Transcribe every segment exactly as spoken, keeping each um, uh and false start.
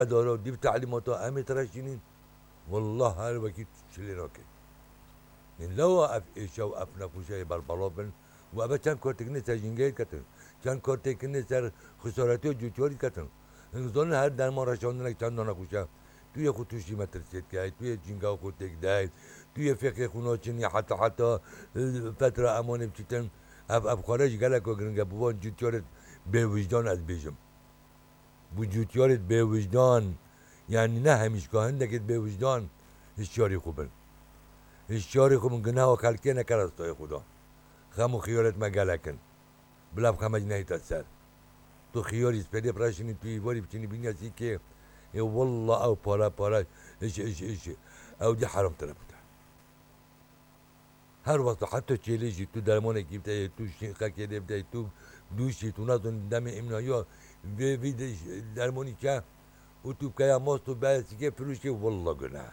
Daro dîv tehlîmata em ê tire şînîn. Wallah her wekî çilê nake. Nin lewa ev êşa û ev nexweşiyê berbelav bin û eve çend kartêk ne ser jîngehê diketin. Çend kartêk ne ser xisaretiya cûtyarî diketin. Hûn zanin her derman reşandinek çend nexweşe. Tu yê xwe tûşî metirsiyê dikey, tu yê jîngeha xwe têk dey, tu yê fêqê xwe naçinî heta heta, e, fetra emanê biçîtin. Ev, ev xware jî geleko giring e, bi van cûtyarê bêwijdan ez bêjim. Bi cûtyarê bêwijdan, yanî ne hemîşka, hindekê bêwijdan hişyarî xwe bin. Hişyarî xwe bin, guneha xelkê neke rastayê xwe da. Xem û xiyarêt me gelek in. Bila bi xemec nehîte ser. Tu xiyarî spêdê bireşînî, tu îvarî biçînî bîniya sîkê. Ê walla ew pare pare, iş, iş, iş. Ew dî heram tire bûte. Her wexta heta çêlê jî tu dermanekî bideyê, tu şîqekê lê bideyê, tu dûşî, tu nazin demê îmnaya vê, vî de-, dermanî ke û tu bikeya mast û beyesîkê firûşkê, walla guneh e.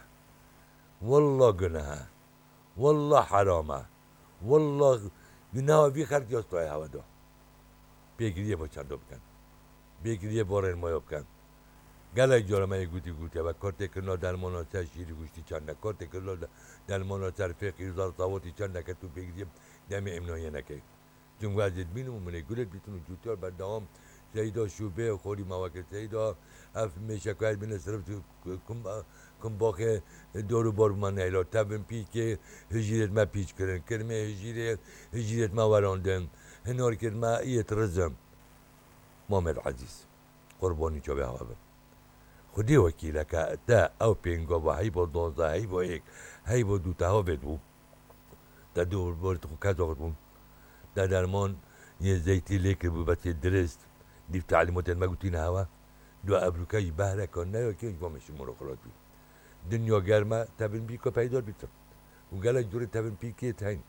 Walla guneh e. Walla heram e. Walla guneha vî xelkî ya stayê hewe da. Pêgiriyê bo çanda bikin. Pêgiriyê bo rênmaya bikin. Gelek cara me yê gotî gotiye ve, kartê kirina dermana ser şîrî goştî çend e, kartê kirina de-, dermana ser fêqî û zarsawatî çend e ke tu pêgiriyê demê îmnayê nekey. Çimku ez ê dibînim û min ê gulê dibîtin û cûtyar berdewam Seyda şûbê xorî me weke Seyda, ev mêşeka ez bîne sirf kum-, kumbaxê dor û bor bû me neyla. Tevin pîkê hijîrêt me pîç kirin. Kirmê hijîrê, hijîrêt me werandin. Hinarkêt me yêt rizim. Mamed Ezîz, qurbanî çavê hewa bim. Xwedê wekîl e ke te ew pêngava heyva duwazdeh, heyva yek, heyva du te hewa vêt bû. Te dor bor xwe kes axit bûn. Te derman yê zeytî lê kiribû, bes yê dirist. Dîv tehlîmatên me gotîne hewa. Du ebrûke jî behreka neyakê ji bo min şimûra xwe lat bî. Dinya germ e, tevin pîka peydar bîtin. Û gelek curê tevin pîkê teyn.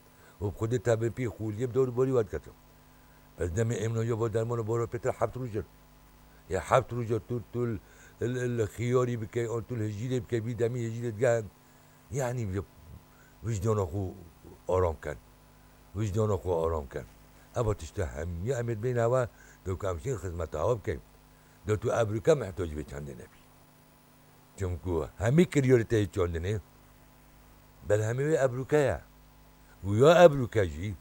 Û bi xwedê tevin pî xûliyê bi dor û borî we diketin. Bes demê îmnaya va dermana bora pêtir heft roj in. Ya heft roja tu, tu l-, l-, l-, xiyarî bikey, an tu li hijîrê bikey, vî demî hijîrê digehin. Yanî bi-, wijdana xwe aram ken. Wijdana xwe aram ken. Eva tişta hemiya em ê dibêne hewa, do ku em şîn xizmeta hewa bikeyn. Do tu ebrûke mihtacî vê çandê nebî. Çimku hemî kiryarê te yê çandinê, berhemê wê ebrûke ye. Û ya ebrûke jî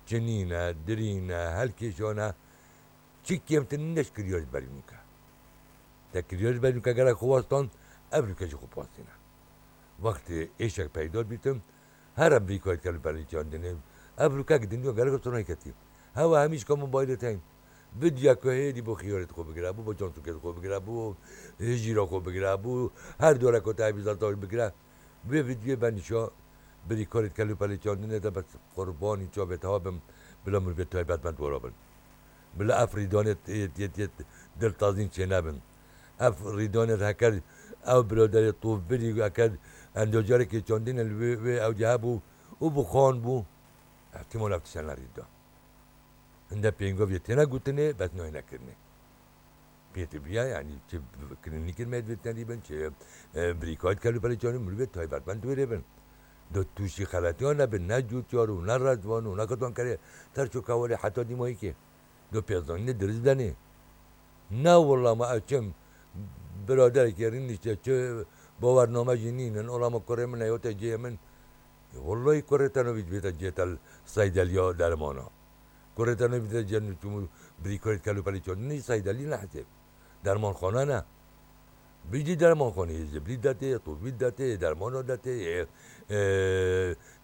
çinîn e, dirîn e, helkêşan e, çi kêmtir nîne ji kiryarê berî nûke. Te kiryarê berî nûke gelek xwe wastan, ebrûke jî xwe pastîne. Wextê êşek peydar bîtin, Her em vî kayê dikin li perê çandinê. Ev rûkek dinya gelek sona ketî. Hewa hemî ji ka mobaylê tên. Vidya ku hêdî bo xiyarê xwe bigire, bo, bo çansûkê xwe bigire, bo hijîra xwe bigire, bo her dore ku te hevî zata bigire. Vê vidyê ben nîşa birî karê dikin li perê çandinê de bes qurbanî çavê te bim, bila mirovê taybetmend wera bin. Bila ev rîdanê yê, yê, yê diltazîn çênebin. Ev rîdanê heker ew biraderê tovbirî heker endocarekê çandine li wê, wê ewcî hebû û bi xan bû, ihtimal ev tiştene rî da. Hinde pêngaviyê têne gotinê, bes nayê nekirinê. Pê tu biya, yanî çi klînîkên me divê tenî bin, çi, e, birîkayê dikin li perê çandinê mirovê taybetmend wêrê bin. Do tûşî xeletiyan nebin, ne cûtyar û ne rezvan û ne qetankerê ter ço kewalê heta dîmayîkê. Do pêzanînê dirist denê. Ne willa ma ew çim biraderekî rînişte çi bawername jî nînin. Ola ma kurê min e, yote cihê min. E, wallahî kurê te navî dibête cihê te seydeliya dermana. Kurê te navî dibête cihê çimû birîkarê dikin li perê çandinê jî seydelî ne hesêb. Dermanxane ne. Bijî dermanxaneyê ziblî detê, tûvî detê, dermana detê, e, e,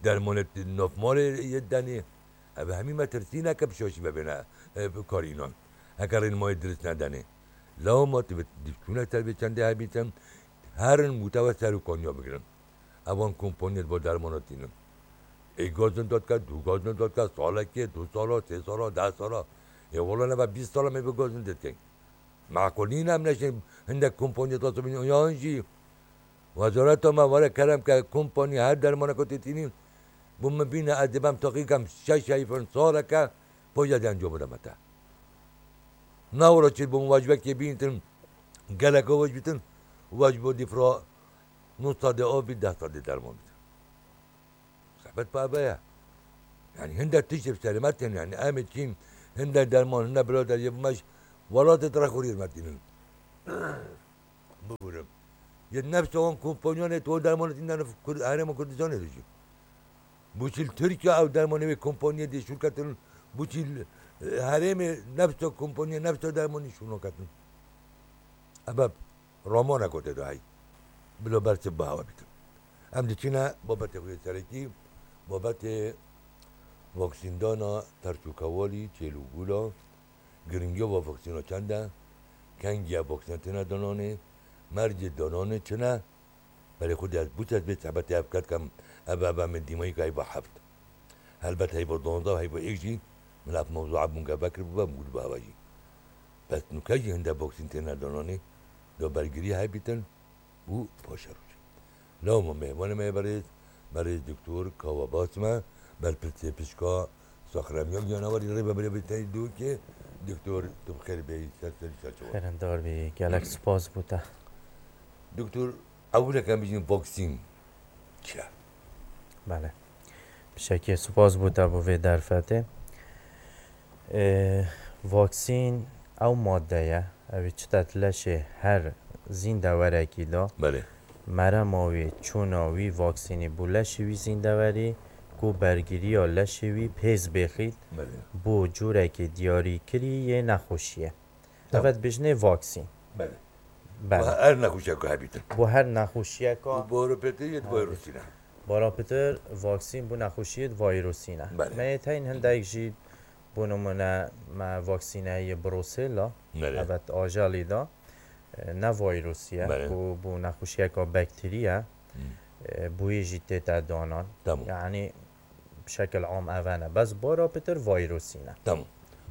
dermanê navmalê yê denê. Ev hemî metirsî neke bi şaşî vebêne, e, bi kar înan. Heke rênmayê dirist nedenê. Lewma tu bi çûne ser vê çendê hebîtin, herin û te we ser û kaniya bigirin. Evan kompaniyê bo dermana tînin. Ê gazin dotke, du gazin dotke, salekê, du sala, sê sala, deh sala. Ê wala nebe bîst sala me bi gazin dotkeyn. Meqûl nîne em neşên hindek kompaniyê tasibîn yan jî wezareta me were kerem ke kompanî her dermaneke tê tînî bo min bîne ez dê bem teqî kem şeş heyfin saleke poja de encam bideme te. Na were çêt bo min wajbekê bîntin geleke waj bîtin waj bo dîfra nû sadê av bî deh sadê derman bîtin. Sebet pa be ye. Yani hinde tiştê bi serê me tên, yani em ê çîn, hinde derman, hinde birader yê bi me ji welatê direk xurîr me tînin. bibirim. Yê nefsa wan kompanyanê to dermanê tîndan Kur-, Herêma Kurdistanê de jî. Bûçî li Tirkiye ew dermanê wê kompaniyê dê şûr ketin, bûçî li, e, herêmê nefsa kompaniyê, nefsa dermanî şûr naketin. Ebe ramaneko tê de hey. Bila bersiv bi hewa bîtin. Em diçine babetê xwe yê serekî, babetê vaksîndana terç û kewalî, çêl û gûla, giringiya va vaksîna çend e, kengiya vaksîna têne dananê, mercê dananê çi ne, Belê xwedî ez bû tez bê sebetê ev ket kem, ev, ev, em ê dîmayî ka heyva heft. Helbet heyva duwazdeh û heyva êk jî min ev mewzûa bûn ke vekiribû ve bû dibe heva jî. Bes nûke jî hinde boksîn têne dananê, da bergirî hebîtin û paşerû jî. Lewma mêvanê me yê berêz, berêz Doktor Kawa Basme, berpirsê pişka Saxremiya Giyanewarî Rêveberê Birîtayî Dûkê, Doktor, tu bi xêr bêyî, ser serî ser çawa. Xêrindar bî, gelek spas bo te. Doktor, ewilek em bijîn vaksîn çi ye? Belê. Pişekê spas bo te bo vê derfetê. Ê, vaksîn ew madde ye, ew ê çite di leşê her zîndewerekî de. Belê. Merema wî, çûna wî vaksînî bo leşê wî zîndewerî, ku bergiriya leşê wî pêz bêxît Belê. bo cûrekê diyarîkirî yê nexweşiyê. Tamam. Eve dibêjinê vaksîn. Belê. Belê. Bo her nexweşiyeka hebîtin. Bo her nexweşiyeka Û bo pêtir yê Hebîtin. Vayrosî ne. Bara pitir vaksîn bo nexweşiyê vayrosî ne. Belê. Me yê teyn hindek jî, bo nimûne me vaksîne heye Brosela, Belê. Evet, ajalî da, e, ne vayrosî ye, Belê. ku bo nexweşiyeka bakterî ye, Hmm. e, bo yê jî tête danan. Tamam. Yani, bi şekil am eve ne. Bes bara pitir vayrosî ne. Tamam.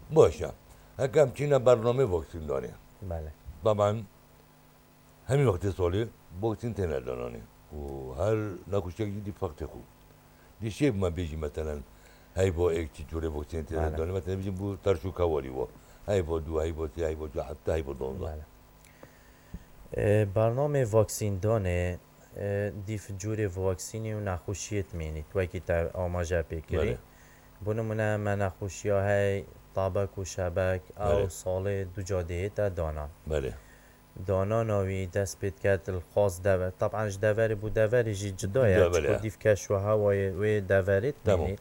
Baş e. Heke em çîne bernamê vaksîndanê. Belê. Taban hemî wextê salê vaksîn têne dananê. Û her nexweşiyek jî dî wextê xwe. Dî şê bime bêjî meselen heyva êk çi cûrê vaksîn têne Belê. danê. Meselen bêjin bo terş û kewalî wa. Heyva dû, heyva sê, heyva çar, heta heyva duwazdeh. Belê. E, bernamê vaksîndanê, e, dîf cûrê vaksînî û nexweşiyê dimînît, wekî te amaje pê kirî. Belê. Bo nimûne me nexweşiya hey tabek û şebek, ew Belê. salê du ca dihête danan. Belê. Danana wî dest pê diket li xas dever. Taban ji deverê bo deverê jî cuda ye, Cuda, belê. çiko dîf keş û hewayê wê deverê Tamam. dimînît.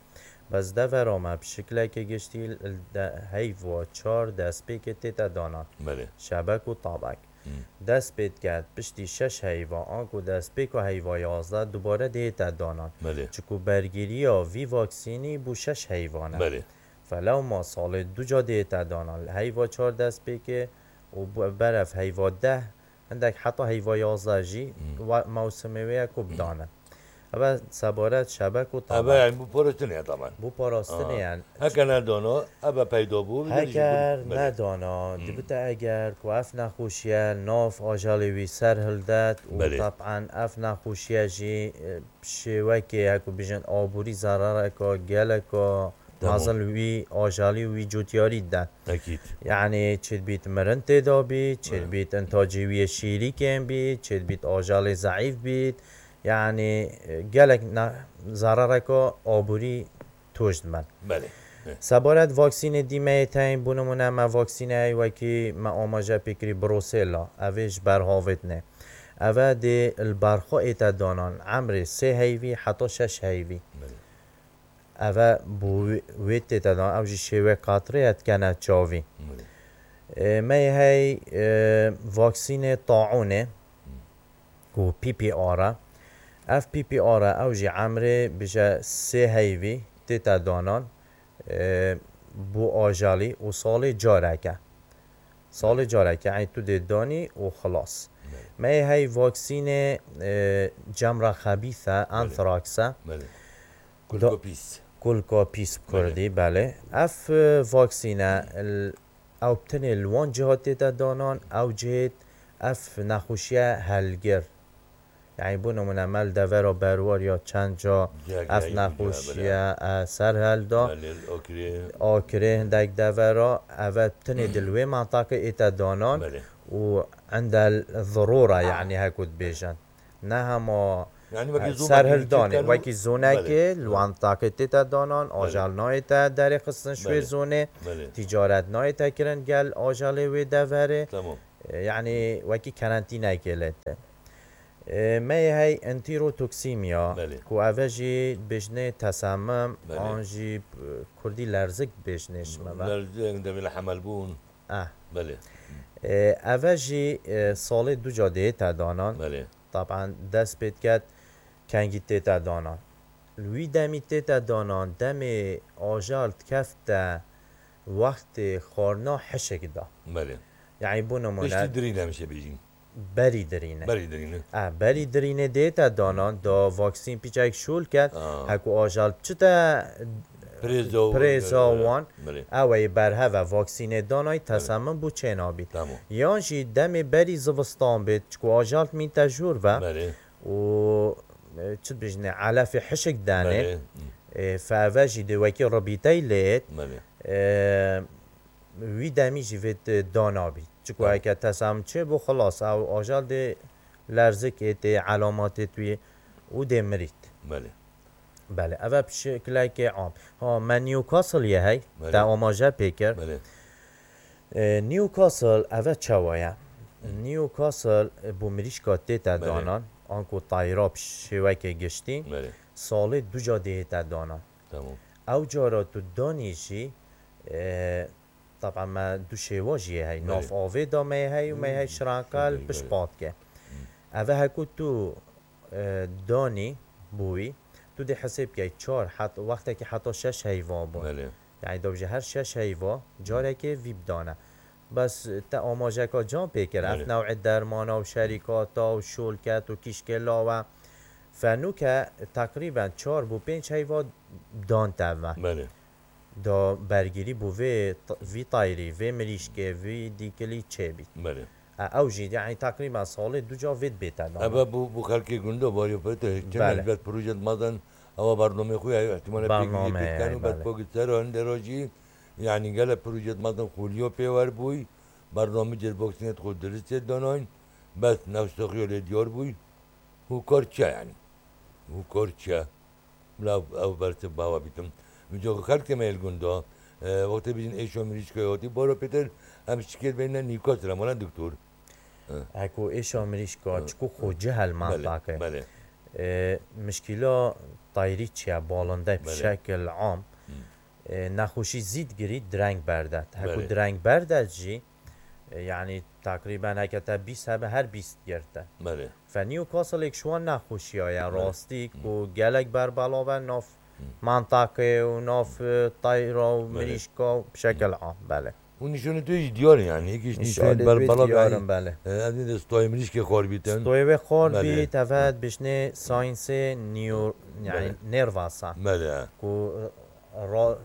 Bes devera me bi şiklekê giştî li de-, heyva çar destpêkê tête danan. Belê. Şebek û tabek. Hmm. Dest pê diket piştî şeş heyva, anku destpêka heyva yazdeh dubare dihête danan. Belê. Çiku bergiriya vî vaksînî bo şeş heyvan e. Belê. Felewma salê du ca dihête danan. Heyva çar destpêkê û bu-, berev heyva deh, hindek heta heyva yazdeh jî Hmm. wa-, mewsimê wê ye ku Hmm. bidanin. Eve sebaret şebek û Eve tabek. yani bo parastinê ye taban. Bo parastinê Ha. yani. Heke nedana, eve peyda bû, Heker Belê. nedana, Hmm. dibite eger ku ev nexweşiye nav ajalê wî ser hildet û Belê. taban ev nexweşiye jî, e, şêwekê, heku bijin, aborî zerareka geleka Tamam. mezin li wî ajalî û wî cotiyarî dide. Ekîd. Yani çêdibît mirin têda bî, çêdibît intacê wî yê şîrî kêm bît, çêdibît ajalê zeîf bît. Yani, e, gelek ne-, zerareka aborî tûj diben. Belê. He. Sebaret vaksînê dî me yê teyn, bo nimûne me vaksîne hey wekî me amaje pê kirî Brosela, ev ê ji ber havêtinê. Eve dê li ber xwe ête danan, emrê sê heyvî heta şeş heyvî. Belê. Eve bo wê, wê tête dan, ew jî şêwe qatirê ye dikene çavî. Belê. E, me yê hey, e, vaksînê taûnê, Hmm. ku P P R e. Ev P P R e, ew jî emrê bije sê heyvî tête danan, e, bo ajalî û salê careke. Salê careke, yani tu dê danî û xilas. Belê. Me yê hey vaksînê, e, cemra xebîse, Belê. anthrax e. Belê. Kulka pîs. Kulka pîs bi Belê. kurdî, belê. Ev, e, vaksîne, l-, ew bi tenê li wan ciha tête danan, ew cihêt ev nexweşiye helgir. Yani, bo nimûne, me li devera berwar ya çend ca Cihek ev ya, nexweşiye, belê. e, ser hilda. Belê, akirê. Akirê hindek devera, eve tenê di li wê mantaqê ête danan Belê. û indel zirora, yani, heku dibêjin. Ne hema Yani, wekî e, zû ser mekî hildanê, çiftken û wekî zûnekê, Belê. li Belê. mantaqê tête danan, Belê. ajal nayête derê xistin ji wê Belê. zûnê, Belê. tîcaret nayête kirin gel ajalê wê deverê. Tamam. E, yanî wekî kerentînekê lê tê. E, me yê hey enterotoksîmya, Belê. ku eve jî dibêjinê tesemim, Belê. an jî, e, kurdî lerzik dibêjinê ji me ve. Lerzik demê li hemel bûn. Eh. Belê. E, eve jî, e, salê du ca dihête danan. Belê. Taban dest pê diket kengî tête danan. Li wî demî tête danan, demê ajal dikefte wextê xwarina hişik da. Belê. Yanî bo nimûne Piştî dirîn em jê bêjîn. berî dirîne. Berî dirîne. Eh, berî dirîne dihête danan, da vaksîn piçek şûl ket, Ah. heku ajal çite Prêza û prêza Belê. wan, Belê. ew ê berheve vaksînê danay, Belê. tesemim bû çênabî. Tamam. Yan jî demê berî zivistan bêt, çiku ajal mînte jûr ve Belê. û, e, çi dibêjinê, elefê hişik denê, Belê. e, feve jî dê wekî ribîtey lê, Belê. e, wî demî jî vêt, e, danabî. Çiku Tamam. heke tesemim çêbû, xilas, ew ajal dê lerzik ê tê, elametê wî û dê mirît. Belê. Belê, eve bi şekilekê am. Ha, me Newcastle ye hey, Belê. te amaje pê kir. Belê. E, Newcastle eve çawa ye? Hı. Newcastle, e, bo mirîşka tête Belê. danan, anku tayra bi şêwekê giştî, Belê. salê du ca dihête danan. Tamam. Ew cara tu danî jî, e, taban me du şêwa jî ye hey. Belê. Nav avê da me ye hey û me ye hey Hmm. şirankel Belê, belê. pişt pat ke. Hmm. Eve heku tu, e, danî bûyî, tu dê hesê bikey çar het-, wextekî heta şeş heyva bû. Belê. Yanî da bije her şeş heyva carekê vî bidane. Bes te amajeka can pê kir. Ev Belê. newê dermana û şerîkata û şolket û kîşkê lawe. Fenûke teqrîben çar bo pênc heyva dan te ve. Belê. Da bergirî bo vê t-, vî tayrî, vê mirîşkê, vî dîkilî çêbît. Belê. E, ew jî, yanî teqrîben salê du ca vê dibête dan. Ebe bu, bu xelkê gundo bariyo pete, çi Belê. Belê. Bet proje madan, ewa bernamê xwe ya, ihtimale pek Bername, pek kanu, bet belê. Pogit ser hande rojî, yanî gele proje madan xoliyo pê wer bûy, bernamê cêr boksinet xwe diristê danayn, bes nefsoxiyo lê diyar bûy, hu kar çi yanî? Hu kar çi? Bila ev bersiv bawa bîtim. Vîca xelkê me li gunda, e, wextê bijin êşa mirîşka hatî, baro pêtir em şikêt beyne Newcastle, em were doktor. E. Heko êşa mirîşka, E. çiku xwe cihel Belê, mantake. Belê. E, mişkîla tayrî çiye, balinde Belê. bişekil am. Hı. E, nexweşî zî digirî direng berdet. Heko Belê. direng berdet jî, e, yanî teqrîben heke te bîst hebe, her bîst girte. Belê. Fe Newcastle êk ji wan nexweşiya ye, Belê. rastî Hı. ku gelek berbelav e nav Hı. mantaqê û nav, e, tayra û Belê. mirîşka bi şekil Hı. am, belê. Û nîşanê tu jî diyar in, yanî, êk ji Nîşanê nîşanê tu berbelav diyar e, in, belê. e, ev ne de stoyê mirîşkê xor bîtin. Stoyê wê xor Belê. bît, evet, Hı. bişnê saynsê nîyo-, yanî, Belê. nervasa. Belê. Ku, e, ra-,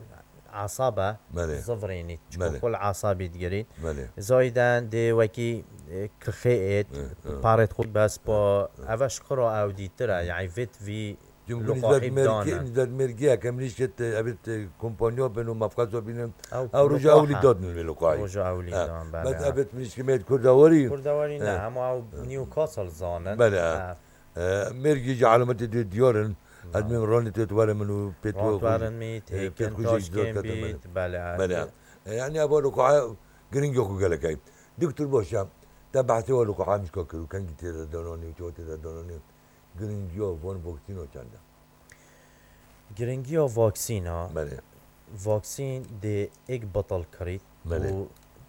asaba Belê. zivirînît. Çiku Belê. kul asabî digirît. Belê. Zayden dê wekî, e, kixê êt, Hı, hı. parêt xwe bes pa Hı, hı. eve şikira ew dîtir e, Hı. yanî vêt vî Cumhur luqahî nizet merkê, dane. nizet merkê, eke mirîşkê te, evet, e, kompanya bin û mafkazo bînin. Ew Ew roja luqaha. ewlî dadin vê luqahî. Roja ewlî Ha. dan, belê, Bes ha. evet mirîşkê me kurdawarî. Kurdawarî ne, Ha. hema ew Ha. Newcastle zanin. Belê, ha. Ha. E, mêrgî ji alametê dê diyar in. Belê. Ez min ranê tê were min û pê tu Ran were min, e, pê têkin xwe jî taşkên zor ketin bît, belê. belê. E, yanî eva luqaha giringiya xwe gelek heye. Doktor baş e, te behsê wa luqaha mişka kir û kengî tê de dananî û çawa tê de dananî. Giringiya van vaksîna çend e? Giringiya vaksîna, Belê. vaksîn dê êk betal kirît Belê. û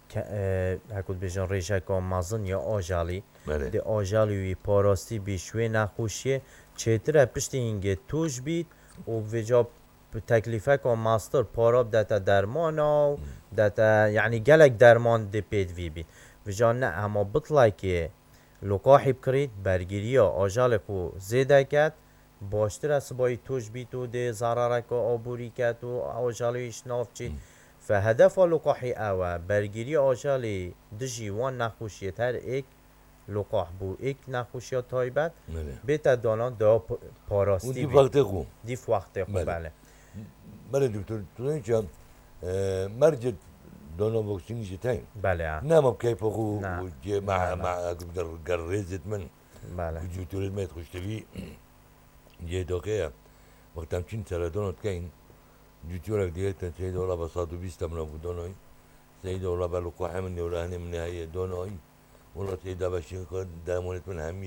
ke-, e, heko dibêjin rêjeka mezin ya ajalî, Belê. dê ajalî wî parastî bî ji wê nexweşiyê, çêtir e piştî hingê tûj bît û vêca bi teklîfeka mastir para bidete dermana û Hmm. dete, yanî gelek derman dê pêdivî bît. Vêca ne, hema bitlekê luqahî bikirît, bergiriya ajalê xwe zêde ket, baştir e sibayî tûj bît û dê zarareke aborî ket û ajalê wî ji nav çît. Hmm. Fe hedefa luqahî ew e, bergiriya ajalê dijî wan nexweşiyê her êk luqah bû, êk nexweşiya taybet, Belê. bête danan da p-, parastî Û dî bî. wextê xwe. Dî wextê xwe, Belê. belê. Belê doktor, tu zanî çi, e, mercê dana vaksînî jî teyne. Belê, ha. Ne ma bi keyfa xwe Ne. û cê me, Ne, ne. me, ger, ger rêzêt min. Belê. Ku cûtorêt me yê xweştevî, cê doxê ye. Wexta em çîn seredana dikeyn, cûtorek dihêtin, seyda wela be sed û bîst e min a bû danayî. Seyda wela be luqahê min nêwrehenê min heye danayî. Wela tê dabeşîn xwe dermanê tun hemî